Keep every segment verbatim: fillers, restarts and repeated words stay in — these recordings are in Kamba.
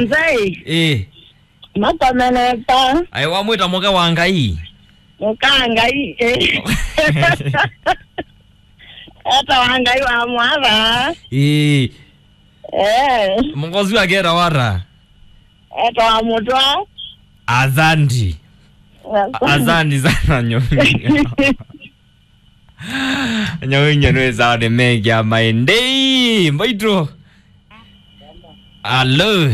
Nzai. Ĩĩ. Makomeneta. Aĩ, wamwĩta mũka wa Ngai? Mũka wa Ngai, ĩĩ. Eta wa Ngai wa mwatha. Ĩĩ. Eh. Mũka ũsu aketa wata? Eta wa mũtwa. Azandi. Azandi sana nyomi. Nyau inye nĩ sawa, nĩ mekĩa maĩ. Ndei, mbaitũ. Alo.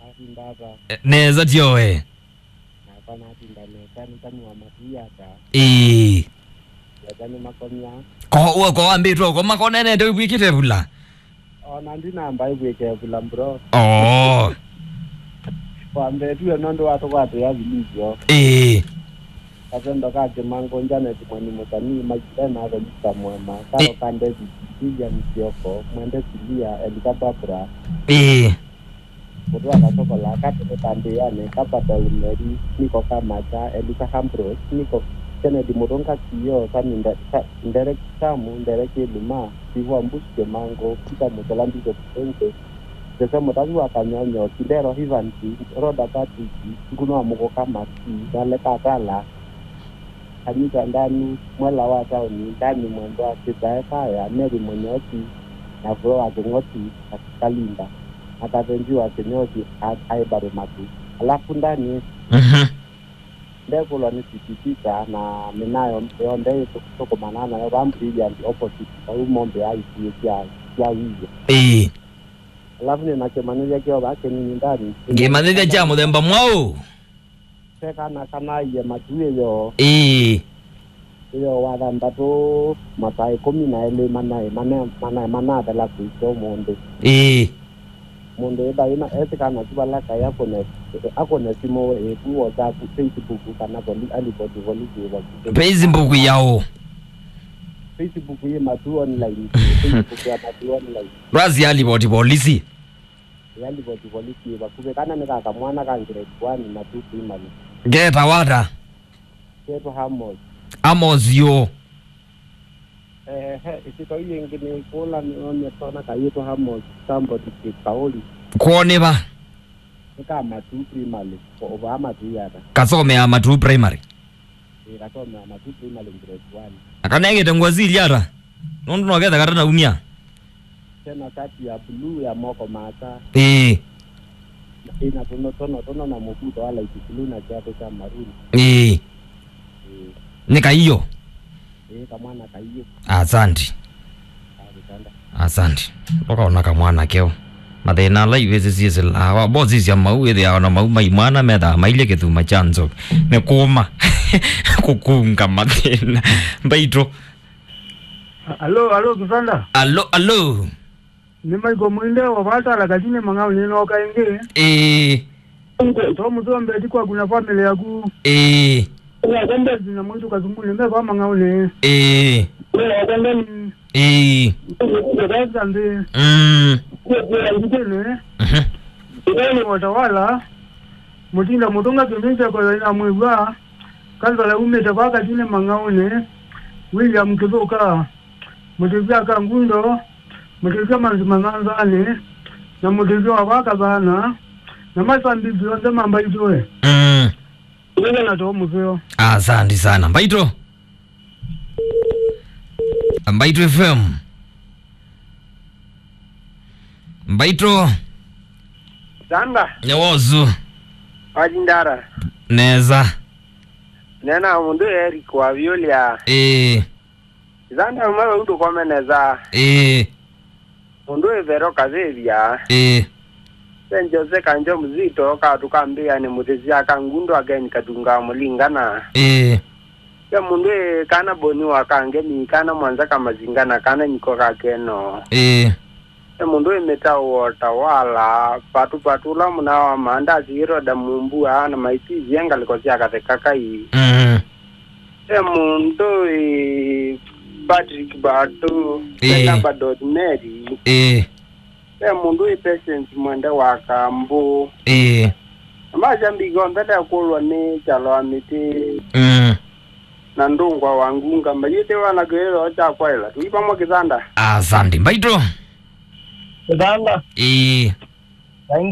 Atinda ata? Nesa tioe. Nakwa natinda nesa, nĩkanyua matuyata. Ĩĩ. Yata nĩ makomya. Ko, uwe ko wambĩtwe, ko makonenete wĩkĩte vula. Ona ndinamba ĩvw'ĩke vula, bro. Oh. Wambetue nũndũ wa tũkwatĩa vilivyo. Ĩĩ. Katendo ka Kĩmango, Janet Mweni Mũsanii, Magdalena Felista Mwema, Karo Ĩ- ka David, Vivian Kioko, Mwende Silia, Elika Babra, Ĩĩ. Mũtũa Kasokola, Katete Kambĩanĩ, Kapata Umeri, Niko Kamacha, Elika Ambrose, Niko Kennedy Mũtũnga, Kio, Sami Nde-, Sa-, Nderek Samu, Nderek Iluma, Sivua Mbusi Kĩmango, Peter Mũsola, Bishop Senge, Jose Mũtavi wa Kanyonyo, Kidero Evans, Roda Patrick, Nguno wa Mũkũka Masi, Ngaleka Atala, Kanyita Ndanu, Mwela wa Taoni, Ndani Mwendwa, Kĩtae Kaya, Mary Mũnyoki, na Vũlo wa Kĩng'oti, na Kalinda, na Kathenji wa Kĩnyoki, a-, aĩ bado Matu. Alafu Ndani, Mhm. ndekũlwa nĩ sikisita, na mĩnayo yonthe ĩtũkũmana nayo vaa Brilliant opposite, vau mombe ya ikuĩ sya, sya Wĩw'e. Ĩĩ. Alafu nĩ na kĩmanyĩthya kĩo vaa kĩnini Ndani. Kĩmanyĩthya kya mũthemba mwaũ? Te kana kanaie matu ĩyo. Ĩĩ. Ĩyo wa thanthatũ, masaa ĩkũmi na elĩ manaĩ, manaĩ, manaĩ, manathela kũisya ũmũnthĩ. Ĩĩ. Mũndũ ĩtha ĩna esi kana tu vala kaĩ akũne, akũne simũ ĩku WhatsApp, Facebook kana poli-, alipoti polisi ĩvakuvi. Facebook yaũ? Facebook yĩ matu online. Facebook ya matu online. Rasi alipoti polisi. Yalipoti polisi ĩ vakuvĩ. Kana nĩ ka kamwana ka grade one na two primary. Ngeta wata? Ketwa Amos. Amos yu? Ehe, ĩsyĩtwa yu yĩngĩ nĩ kũla nĩonie twana kayĩtwa Amos Sambodi Kĩkaũli. Kwoo nĩ va? Nĩ ka Matuu Primary, o-, ovaa Matuu yata. Kasomea Matuu Primary? Ĩĩ, kasomea Matuu Primary grade one. Akanengete ngũa silya ata? Nũndũ noketha kata naumya. Tena sati ya blue ya moko maasa. Ĩĩ. Ĩna tũno, tũno, tũno na mũvuto wa light blue na kiatu kya maroon. Ĩĩ. Ĩĩ. Nĩ kaiyo? Ĩĩ, kamwana kaiyo. Asante. Asante. Asante. Ndũkaona kamwana keo. Mathĩna ala ivĩsĩ syĩsĩlaa. Wambosisya mau, ĩthĩawa na mau mai mwana methaa mailye kĩthuma kya nzoki. Nĩ kũma. Kũkunga mathĩna. Mbaitũ. Alo, alo, Kisanda. Alo, alo. Nĩ Michael Mwinde wa Vatala Katine Mang'au nĩnooka ĩngĩ. Ĩĩ. To mũthombeti kwaku na family yaku. Ĩĩ. Ĩĩ. Mbethi na mwĩtu Kasumbuni me va Mang'aunĩ. Ĩĩ. Ĩĩ. Ĩĩ. Ĩĩ. Ĩĩ. Mm. Ĩĩ. Mhm. Ĩĩ. Watawala. Mũtinda mũtũnga kĩndũ nzeko yo ina mwĩw'a. Kansala umĩte va Katine Mang'aunĩ. William Kĩthũka. Mũtĩthya ka Ngundo, mũtĩthya manzi manyanzanĩ, na mũtĩthya wa vaka vana, na masambiki onthe ma Mbaitũ. Mm. Mũthenya na too mũseo. Asante sana. Mbaitũ. Mbaitũ F M. Mbaitũ. Sanda. Nĩ wosu. Wajindara. Neza. Nena mũndũ Eric wa Violia. Ĩĩ. Ĩthanda ũmwe vau ndũkome nesa. Ĩĩ. Mũndũ ĩvero kavĩvya. Ĩĩ. Sen Jose Kanjo Mzito, katu ka mbĩanĩ mũthĩsya ka Ngundo Again Katunga Mũlingana. Ĩĩ. Ve mũndũ ĩ kana Boni wa Kangemi, kana Mwanza ka Mazinga na kana Nyiko ka Keno. Ĩĩ. Ve mũndũ ĩ mĩtaũ wa Utawala, Patu Patu ũla mũna wa Maandasi, Iroda Mumbua, na maitithie ngalĩko sya Katheka Kai. Mm. Ve mũndũ ĩ Patrick Batu, Ĩĩ. Ve Nabadot Mary. Ĩĩ. Ve mũndũ ĩ Patience Mwende wa Kambu. Ĩĩ. Na masya mbika onthe ndekũlwa nĩ kyalo wa mĩtĩ. Mm. Na ndũngwa wa ngunga. Mayĩte wana kĩlĩlo kya kwaĩla. Tũi vamwe Kĩsanda. Asante. Mbaitũ. Kĩsanda. Ĩĩ.